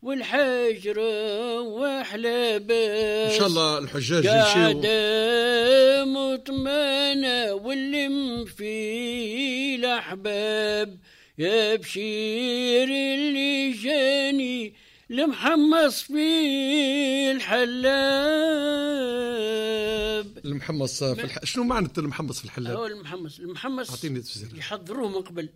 والحاج روح لاباس. ان شاء الله الحجاج يمشيو قاعدة مطمئنة واللم في الأحباب. يا بشير اللي جاني المحمص في الحلاب. المحمص في شنو معنى المحمص في الحلاب؟ هو المحمص اعطيني تفسير. يحضروه من قبل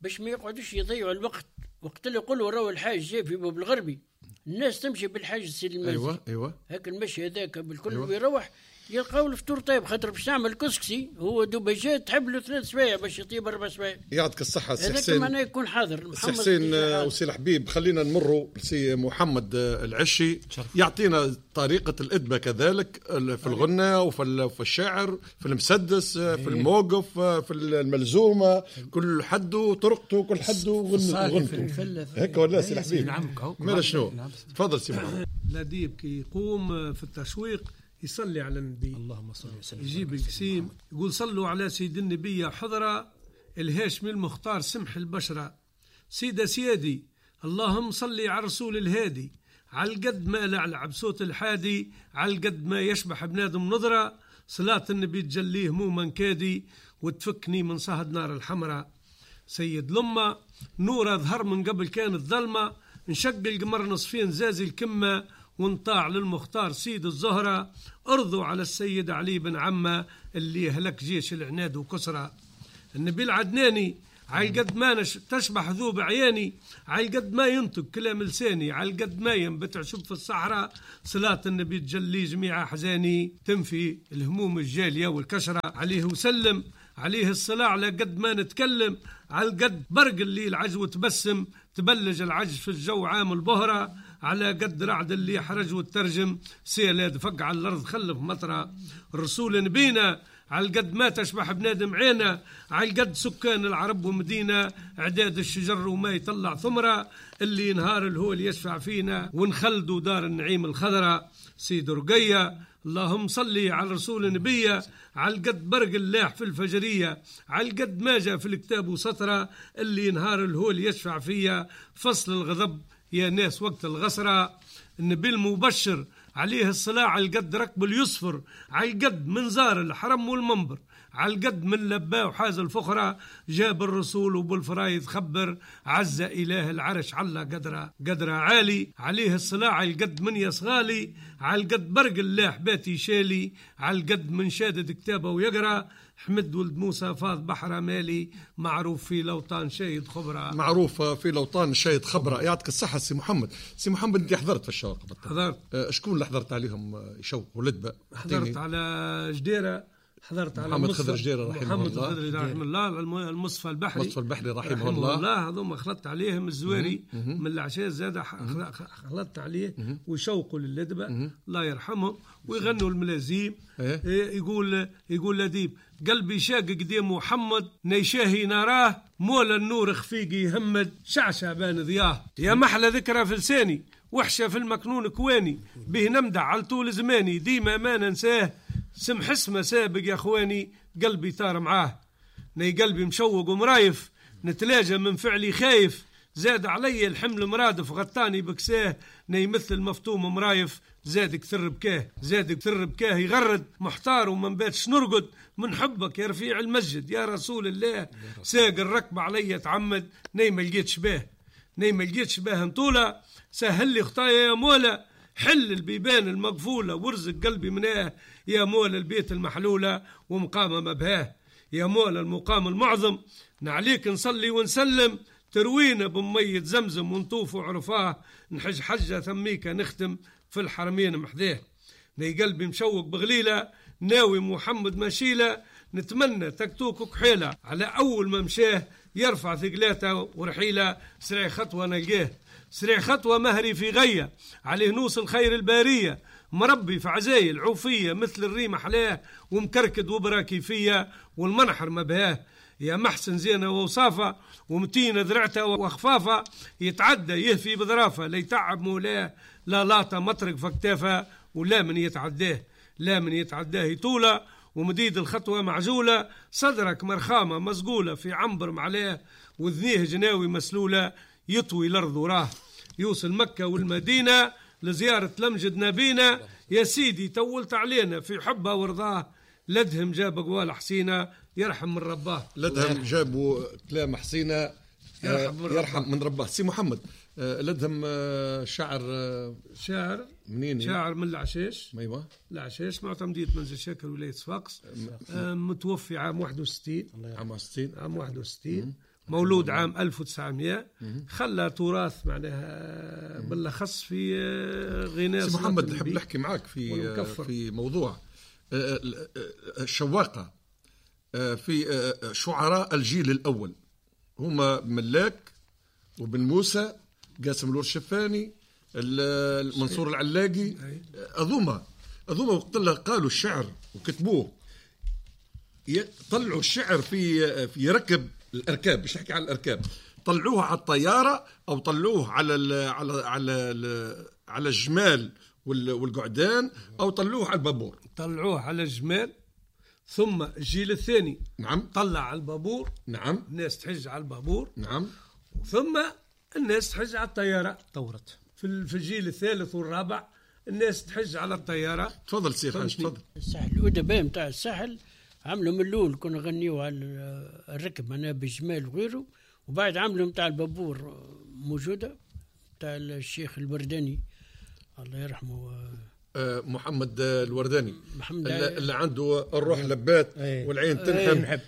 باش ما يقعدوش يضيعوا الوقت. وقت اللي يقولوا راهو الحاج جاي في باب الغربي، الناس تمشي بالحاج سيد المنزل. ايوه ايوه، هاك المشي هذاك بالكل. أيوة. ويروح يلقاو الفطور طيب، خاطر باش نعمل كسكسي هو دوبا جا تحب له 3 سوايع باش يطيب 4 سوايع. يعطيك الصحة سي حسين، معناه يكون حاضر سي حسين وسي الحبيب. خلينا نمروا لسي محمد العشي يعطينا طريقة الإدبة كذلك في الغنى وفي الشعر، في المسدس، في الموقف، في الملزومة، كل حد وطرقته، كل حد وغنته هيك ولا سي الحبيب؟ نعم. ماذا شنو؟ تفضل سي محمد. لديب كي يقوم في التشويق يصلي على النبي، اللهم صل وسلم، يجيب القسيم يقول صلوا على سيد النبي حضرة الهاشمي المختار سمح البشرة، سيدة سيادي اللهم صلي على رسول الهادي، على القد ما لعلع بصوت الحادي، على القد ما يشبح بنادم نظرة، صلاة النبي تجليه هموما كادي وتفكني من صهد نار الحمراء. سيد لما نورة ظهر من قبل كانت ظلمة، انشق القمر نصفين زازي الكمة، وانطاع للمختار سيد الزهرة، ارضوا على السيد علي بن عمة اللي هلك جيش العناد وكسرة. النبي العدناني على قد ما تشبح ذوب عياني، على قد ما ينطق كلام لساني، على قد ما ينبت عشب في الصحراء، صلاة النبي تجلي جميع أحزاني، تنفي الهموم الجالية والكشرة. عليه وسلم عليه الصلاة على قد ما نتكلم، على قد برق اللي العجو تبسم، تبلج العج في الجو عام البهرة، على قد رعد اللي حرج والترجم، سيلة دفق على الأرض خلف مطرة. الرسول نبينا على قد ما تشبح بنادم عينه، على قد سكان العرب ومدينة، اعداد الشجر وما يطلع ثمرة، اللي نهار الهول يشفع فينا، ونخلدوا دار النعيم الخضرة. سيد رقية اللهم صلي على رسول نبيه، على قد برق اللاح في الفجرية، على قد ما جاء في الكتاب وسطرة، اللي نهار الهول يشفع فيا، فصل الغضب يا ناس وقت الغسرة. النبي المبشر عليه الصلاة على القد ركب اليصفر، على القد من زار الحرم والمنبر، على القد من لباه وحاز الفخرة، جاب الرسول وبالفرايض خبر، عز إله العرش على قدره قدره عالي. عليه الصلاة على القد من يصغالي، على القد برق اللاح باتي شالي، على القد من شادد كتابه ويقرأ، حمد ولد موسى فاض بحر مالي، معروف في لوطان شايد خبرة، معروف في لوطان شايد خبرة. يعطيك الصحة سي محمد. سي محمد انت حضرت في الشوق؟ حضرت. شكون اللي حضرت عليهم يشوقوا لدبة؟ حضرت على جديرة، حضرت على محمد خضر جديرة رحمه محمد الله، خضر جديرة رحمه الله، المصطفى البحري، المصطفى البحري رحمه الله، هذوما خلطت عليهم الزواري من العشاء زاد خلطت عليه ويشوقوا للدبة الله يرحمهم، ويغنوا الملازيم. يقول لديب قلبي شاق قديم محمد نيشاهي نراه، مولى النور خفيقي يهمد شعشع بان ضياه، يا محلى ذكرى في لساني وحشة في المكنون كواني، به نمدع على طول زماني ديما ما ننساه، سمح اسمه سابق يا اخواني قلبي طار معاه، ني قلبي مشوق ومرايف نتلاجى من فعلي خايف، زاد علي الحمل مرادف غطاني بكساه، ني مثل المفطوم مرايف زاد كثر بكاه، زاد كثر بكاه يغرد محتار وما نباتش نرقد، من حبك يا رفيع المسجد يا رسول الله، ساق الركب علي تعمد ني ما لقيتش باه، ني ما لقيتش باه نطوله، سهل لي خطايا يا مولا، حل البيبان المقفولة وارزق قلبي مناه، يا مولا البيت المحلولة ومقامة مبهاه، يا مولا المقام المعظم نعليك نصلي ونسلم، تروينا بمية زمزم ونطوف وعرفاه، نحج حجة ثميك نختم في الحرمين محذاه، ني قلبي مشوق بغليلة ناوي محمد مشيلة، نتمنى تكتوك كحيلة على أول ما مشاه، يرفع ثقلاته ورحيلة سريع خطوة نلقاه، سريع خطوة مهري في غية عليه نوصل خير البارية، مربي في عزايل عوفية مثل الريم حلاه، ومكركد وبراكي فيا والمنحر مبهاه، يا محسن زينة ووصافة ومتينة ذرعته وخفافة، يتعدى يهفي بظرافة ليتعب مولاه، لا لاطة مطرق فكتافة ولا من يتعداه، لا من يتعداه يطولة ومديد الخطوة معزولة، صدرك مرخامة مزقولة في عنبر معلاه، وذنيه جناوي مسلولة يطوي الأرض وراه، يوصل مكة والمدينة لزيارة لمجد نبينا. يا سيدي طولت علينا في حبه ورضاه، لدهم جاب قوال حسينة يرحم من رباه. لدهم جابوا كلام حسينة يرحم من رباه. سي محمد، لدهم شاعر، شاعر منين؟ شاعر من العشاش. ايوه العشاش، معتمدية منزل شاكر ولاية صفاقس، متوفي عام 61. عام 61. عام 61، مولود عام 1900. خلى تراث معناها بالاخص في غناء. سي محمد، نحب نحكي معاك في موضوع الشواقة في شعراء الجيل الأول، هما ملاك وبن موسى، قاسم الورشفاني، المنصور العلاقي، أذوما وقت اللي قالوا الشعر وكتبوه، طلعوا الشعر في ركب الأركاب، مش نحكي على الأركاب، طلعوه على الطيارة أو طلعوه على ال على على على الجمال والقعدان، أو طلعوه على البابور. طلعوه على الجمال، ثم الجيل الثاني نعم طلع على البابور. نعم الناس تحج على البابور. نعم ثم الناس تحج على الطيارة. طورت في الجيل الثالث والرابع الناس تحج على الطيارة. تفضل سي خالد، تفضل. الساحل الأدباء نتاع الساحل عملوا من الأول كنا نغنيو على الركب معناها بالجمال وغيره، وبعد عملوا نتاع البابور موجودة نتاع الشيخ الورداني الله يرحمه، محمد الورداني، محمد اللي عنده الروح لبات والعين تنحب.